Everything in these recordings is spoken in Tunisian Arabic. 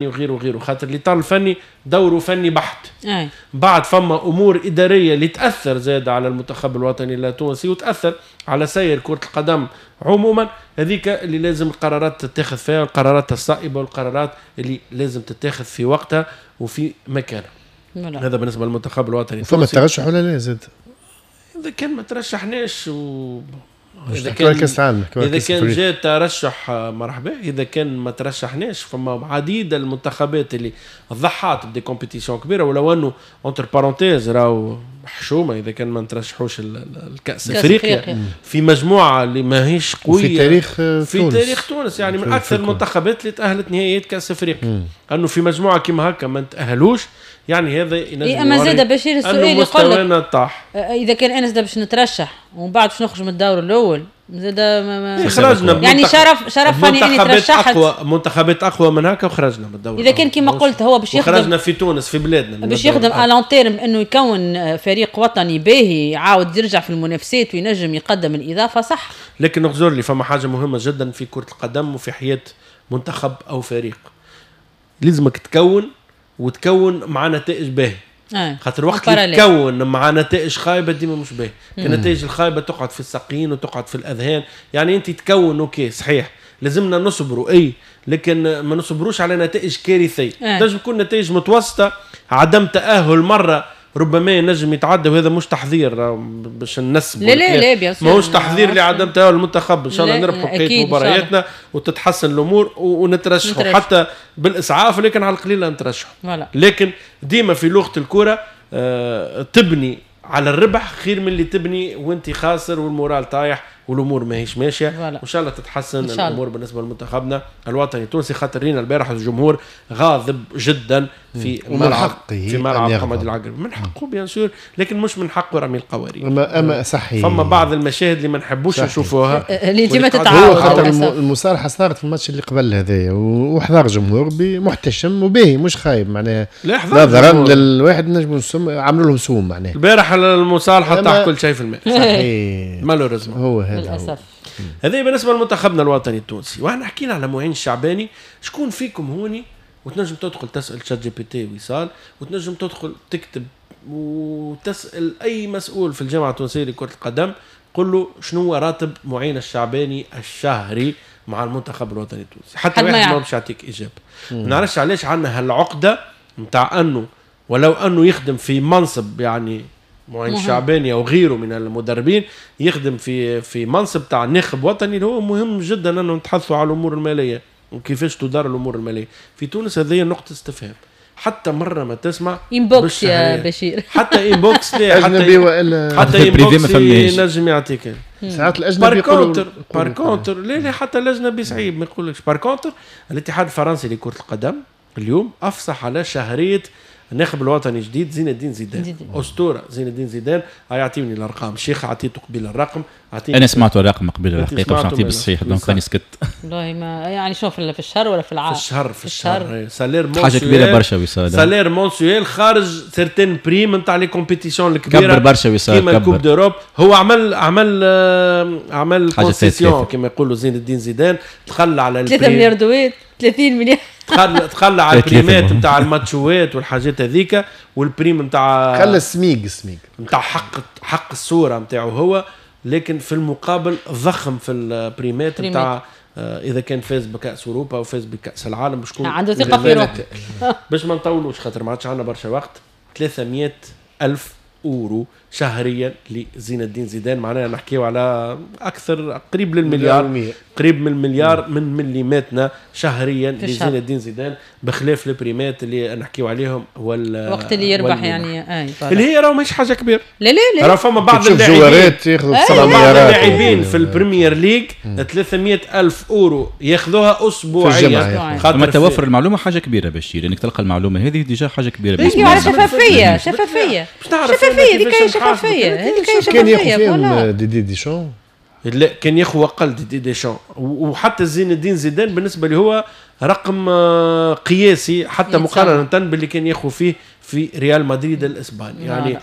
وغيره وغيره، خاطر الاطار الفني دوره فني بحت. بعد فما امور ادارية اللي تاثر زاد على المنتخب الوطني التونسي وتاثر على سير كره القدم عموما، هذيك اللي لازم القرارات تتاخذ فيها، القرارات الصائبه والقرارات اللي لازم تتاخذ في وقتها وفي مكانها. هذا بالنسبة للمنتخب الوطني. فما ترشح ولا لا زاد؟ اذا كان ما ترشحناش اذا كان كاس العالم، اذا كان جاء ترشح مرحبا، اذا كان ما ترشحناش فما عديد المنتخبات اللي ضحات ب des compétitions كبيرة، ولو انه entre parenthèses راهو حشومه اذا كان ما نترشحوش الكاس افريقيا في مجموعة اللي ماهيش قوية في تاريخ في تونس. تاريخ تونس يعني من اكثر المنتخبات اللي تاهلت نهائيات كاس افريقيا، انه في مجموعة كيما هكا ما نتاهلوش، يعني هذا ينجم. إيه اما زاد بشير السؤال يقول لك طاح، اذا كان انا زاد باش نترشح ومن بعد باش نخرج من الدور الاول زاد ما خرجنا يعني شرف فني اني ترشحت اقوى منتخبات اقوى من هكا وخرجنا من الدور. اذا كان كما قلت هو باش يخدم، خرجنا في تونس في بلادنا باش يخدم à long terme انه يكون فريق وطني باهي يعاود يرجع في المنافسات وينجم يقدم الاضافة صح. لكن نغزر لي فما حاجة مهمة جدا في كره القدم وفي حياة منتخب او فريق، لازمك تكون وتكون مع نتائج باهيه. خاطر وقت اللي تكون مع نتائج خايبة ديما مش باهي، النتائج الخايبة تقعد في الساقين وتقعد في الاذهان، يعني انت تكون OK صحيح لازمنا نصبروا اي، لكن ما نصبروش على نتائج كارثية. تنجم تكون نتائج متوسطه، عدم تاهل مرة ربما ينجم يتعدى، وهذا مش تحضير باش ننسبوا، لا لا لا bien sûr ماهوش تحضير لعدم تاهل المنتخب، ان شاء الله نربحوا بقية مبارياتنا وتتحسن الامور ونترشحوا حتى بالاسعاف، لكن على القليل نترشحوا. لكن ديما في لغة الكره تبني على الربح خير من اللي تبني وانت خاسر وال moral طايح والامور ماهيش ماشية. وان شاء الله تتحسن الامور بالنسبة لمنتخبنا الوطني التونسي، خاطر رينا البارح الجمهور غاضب جدا في ملعب في ملعب حماد العقربي. من حقه bien sûr، لكن مش من حقه رمي القوارير. اما صحيح فما بعض المشاهد اللي ما نحبوش نشوفوها اللي ديما تتعاود. خاطر المصالحة صارت في الماتش اللي قبل هذايا وحضر جمهور محتشم وباهي مش خايب معناها، نظرا للواحد نجموا عملوا لهم سوم معناها. البارح المصالحة طاح كل شيء في الماء صحيح malheureusement هو هذا للاسف. هذا بالنسبة لمنتخبنا الوطني التونسي. واحنا حكينا على معين الشعباني، شكون فيكم هوني وتنجم تدخل تسال ChatGPT وصال، وتنجم تدخل تكتب وتسال اي مسؤول في الجامعة التونسية لكرة القدم، قل له شنو هو راتب معين الشعباني الشهري مع المنتخب الوطني التونسي، حتى واحد ما باش يعطيك اجابه. ما نعرفش علاش عندنا هالعقده نتاع انه ولو انه يخدم في منصب يعني معين الشعباني او غيره من المدربين يخدم في منصب تاع ناخب وطني اللي هو مهم جدا انه نتحدثوا على الامور المالية وكيفاش تدار الامور المالية في تونس. هذه نقطة استفهام، حتى مرة ما تسمع inbox يا بشير، حتى inbox لا، اجنبي والا حتى inbox ينجم يعطيك ساعات الاجنبي. par contre لا لا حتى الاجنبي صعيب ما يقولكش. par contre الاتحاد الفرنسي لكرة القدم اليوم افصح على شهرية الناخب الوطني الجديد زين الدين زيدان، اسطورة زين الدين زيدان. يعطيني الارقام الشيخ، عطيته قبيل الرقم، انا سمعت الرقم قبيل الحقيقة باش نعطيه بالصحيح donc راني سكت. والله ما يعني شوف في الشهر ولا في العام؟ في الشهر salaire mensuel حاجة كبيرة برشا وصال، salaire mensuel خارج certaines primes نتاع les compétitions الكبيرة، كبر برشا وصال كيما ال coupe d'Europe. هو عمل عمل عمل concession كما يقولوا زين الدين زيدان، تخلى على 3 مليار دويت 30 مليار، تخلى على البريمات نتاع الماتشوات والحاجات هذيك، وال prime نتاع خلى السميق نتاع حق الصورة نتاعو هو، لكن في المقابل ضخم في البريمات نتاع اذا كان فاز بكاس اوروبا او فاز بكاس العالم باش عنده ثقة في روحه. باش ما نطولوش خاطر ما عادش عندنا برشا وقت. 300 ألف أورو شهريا لزين الدين زيدان، معناها نحكيو على أكثر قريب للمليار، قريب من المليار من مليماتنا شهريا لزين الدين زيدان، بخلاف البريمات اللي نحكيو عليهم وقت اللي يربح يعني اللي هي راهو ماهيش حاجة كبيرة. لا لا لا، راه فما بعض اللاعبين في ال Premier League 300 ألف أورو ياخذوها أسبوعيا. خاطر توفر المعلومة حاجة كبيرة بشير، انك تلقى المعلومة هذه déjà حاجة كبيرة. بالنسبة على شفافية شفافية شفافية هذيك هي شفافية، هذيك هي شفافية. كان ياخذ فيهم ديدي ديشون؟ لا كان ياخذ اقل ديدي ديشون، وحتى زين الدين زيدان بالنسبة لي هو رقم قياسي حتى مقارنة باللي كان ياخذ فيه في ريال مدريد الاسباني. يعني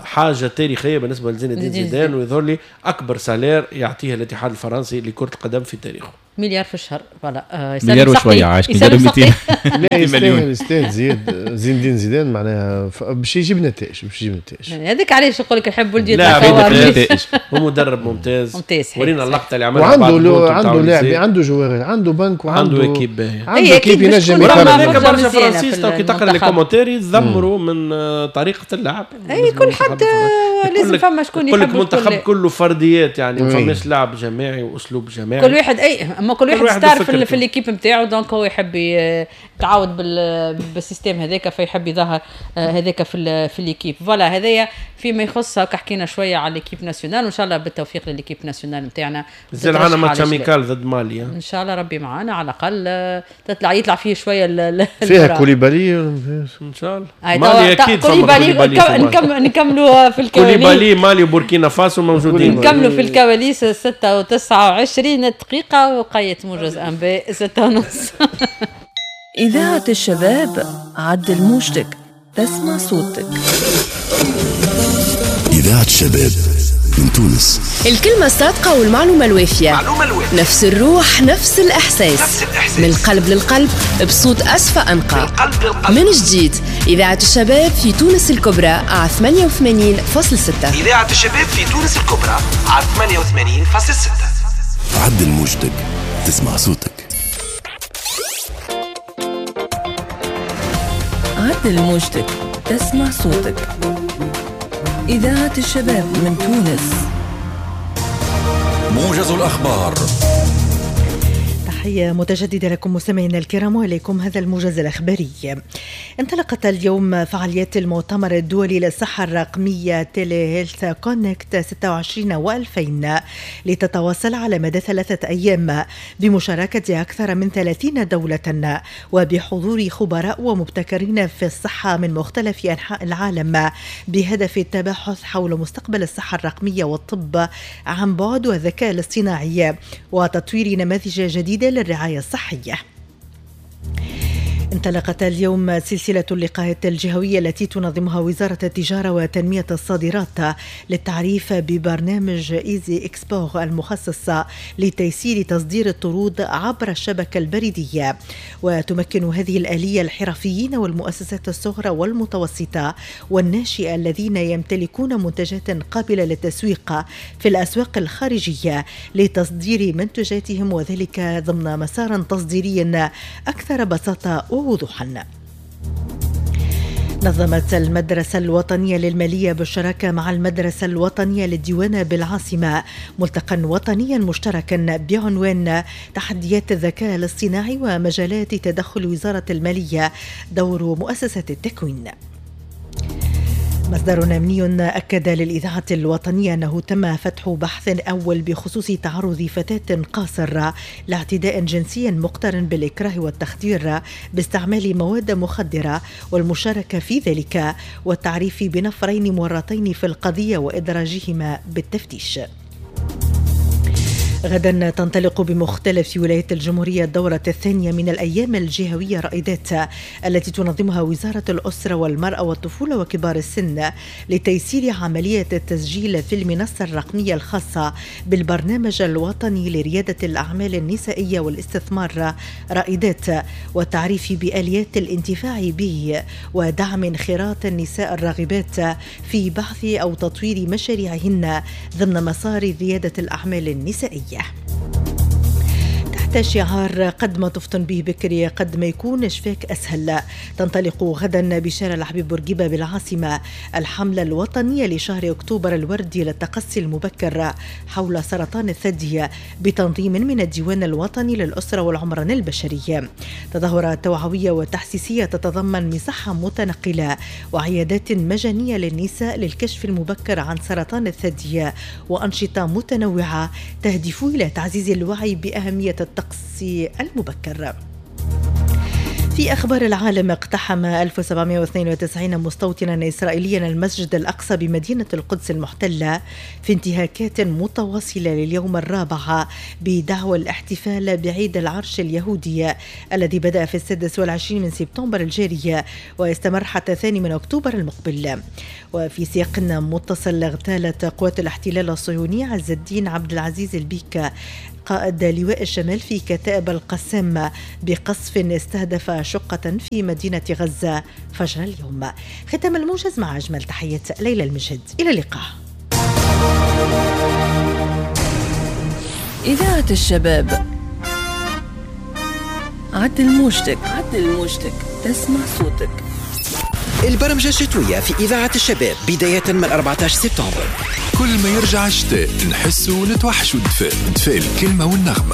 حاجة تاريخية بالنسبة لزين الدين زيدان، ويظهر لي اكبر salaire يعطيه الاتحاد الفرنسي لكرة القدم في تاريخه. مليار في الشهر voilà. مليار وشوية عايش مليار و200. لا يستاهل، يستاهل زياد زين الدين زيدان معناها باش يجيب نتائج، باش يجيب نتائج. هذاك علاش نقول لك نحب ولدي يطلع هو مدرب ممتاز ممتاز. ورينا اللقطة اللي عملها، وعنده عنده لاعب، عنده joueur، عنده بنك، وعنده équipe باهيه، عنده équipe ينجم يخرج. برشا فرنسيس تو كي تقرا les commentaires يتذمروا من طريقه اللعب. اي كل حد لازم فما شكون يحب. يقول لك المنتخب كله فرديات، يعني ما فماش لعب جماعي واسلوب جماعي. كل واحد اي اما كل واحد star في l'équipe نتاعو، donc هو يحب يتعود بال système هذاك، فيحب يظهر هذاك في l'équipe. voilà هذايا فيما يخص هكا حكينا شوية على l'équipe nationale، وان شاء الله بالتوفيق ل l'équipe nationale نتاعنا. مازال عندنا match amical ضد مالي ان شاء الله ربي معانا، على الاقل تطلع يطلع فيه شوية فيها كوليبالي ان شاء الله. مالي اكيد كوليبالي، نكملوا في الكواليس. كوليبالي مالي وبوركينا فاسو موجودين. نكملوا في الكواليس 6:29 وقيت موجز انباء 6:30. إذاعة الشباب، عدل موجتك تسمع صوتك. إذاعة الشباب من تونس. الكلمة الصادقة والمعلومة الوافية، نفس الروح، نفس الإحساس، نفس الإحساس. من القلب للقلب بصوت أسفى أنقى. من جديد إذاعة الشباب في تونس الكبرى على 88.6. إذاعة الشباب في تونس الكبرى على 88.6. عدل موجتك تسمع صوتك. عدل موجتك تسمع صوتك. إذاعة الشباب من تونس. موجز الأخبار. تحية متجددة لكم مستمعينا الكرام، وإليكم هذا الموجز الأخباري. انطلقت اليوم فعاليات المؤتمر الدولي للصحة الرقمية Telehealth Connect 26 و2000 لتتواصل على مدى 3 أيام بمشاركة أكثر من 30 دولة وبحضور خبراء ومبتكرين في الصحة من مختلف أنحاء العالم، بهدف التباحث حول مستقبل الصحة الرقمية والطب عن بعد والذكاء الاصطناعي وتطوير نماذج جديدة للرعاية الصحية. انطلقت اليوم سلسلة اللقاءات الجهوية التي تنظمها وزارة التجارة وتنمية الصادرات للتعريف ببرنامج Easy Export المخصص لتيسير تصدير الطرود عبر الشبكة البريدية. وتمكن هذه الآلية الحرفيين والمؤسسات الصغرى والمتوسطة والناشئة الذين يمتلكون منتجات قابلة للتسويق في الأسواق الخارجية لتصدير منتجاتهم، وذلك ضمن مسار تصديري أكثر بساطة ووضوحا. نظمت المدرسة الوطنية للمالية بالشراكة مع المدرسة الوطنية للديوانة بالعاصمة ملتقى وطنيا مشتركا بعنوان تحديات الذكاء الاصطناعي ومجالات تدخل وزارة المالية دور مؤسسة التكوين. مصدر أمني أكد للإذاعة الوطنية أنه تم فتح بحث أول بخصوص تعرض فتاة قاصر لاعتداء جنسي مقترن بالإكراه والتخدير باستعمال مواد مخدرة والمشاركة في ذلك، والتعريف بنفرين مورطين في القضية وإدراجهما بالتفتيش. غدا تنطلق بمختلف ولايات الجمهورية الدورة الثانية من الأيام الجهوية رائدات التي تنظمها وزارة الأسرة والمرأة والطفولة وكبار السن لتيسير عملية التسجيل في المنصة الرقمية الخاصة بالبرنامج الوطني لريادة الأعمال النسائية والاستثمار رائدات، والتعريف بآليات الانتفاع به ودعم انخراط النساء الراغبات في بحث أو تطوير مشاريعهن ضمن مسار ريادة الأعمال النسائية. تحت شعار قد ما تفطن به بكري قد ما يكون شفاك أسهل، تنطلق غدا بشارع الحبيب بورقيبة بالعاصمة الحملة الوطنية لشهر أكتوبر الوردي للتقصي المبكر حول سرطان الثدي بتنظيم من الديوان الوطني للأسرة والعمران البشري. تظاهرة توعوية وتحسيسية تتضمن مساحة متنقلة وعيادات مجانية للنساء للكشف المبكر عن سرطان الثدي وأنشطة متنوعة تهدف إلى تعزيز الوعي بأهمية التقصي المبكر. في أخبار العالم، اقتحم 1792 مستوطنا إسرائيليا المسجد الأقصى بمدينة القدس المحتلة في انتهاكات متواصلة لليوم الرابع بدعوى الاحتفال بعيد العرش اليهودي الذي بدأ في 26 من سبتمبر الجاري ويستمر حتى 2 أكتوبر المقبل. وفي سياق متصل، اغتالت قوات الاحتلال الصهيوني عز الدين عبد العزيز البيك قائد لواء الشمال في كتائب القسام بقصف استهدف شقة في مدينة غزة فجر اليوم. ختام الموجز مع أجمل تحيات ليلى المجد، إلى اللقاء. إذاعة الشباب، عدل موجتك، عدل موجتك، تسمع صوتك. البرمجة الشتوية في إذاعة الشباب بداية من 14 سبتمبر. كل ما يرجع الشتاء نحسوا ونتوحشوا الدفاء، دفاء الكلمة والنغمة.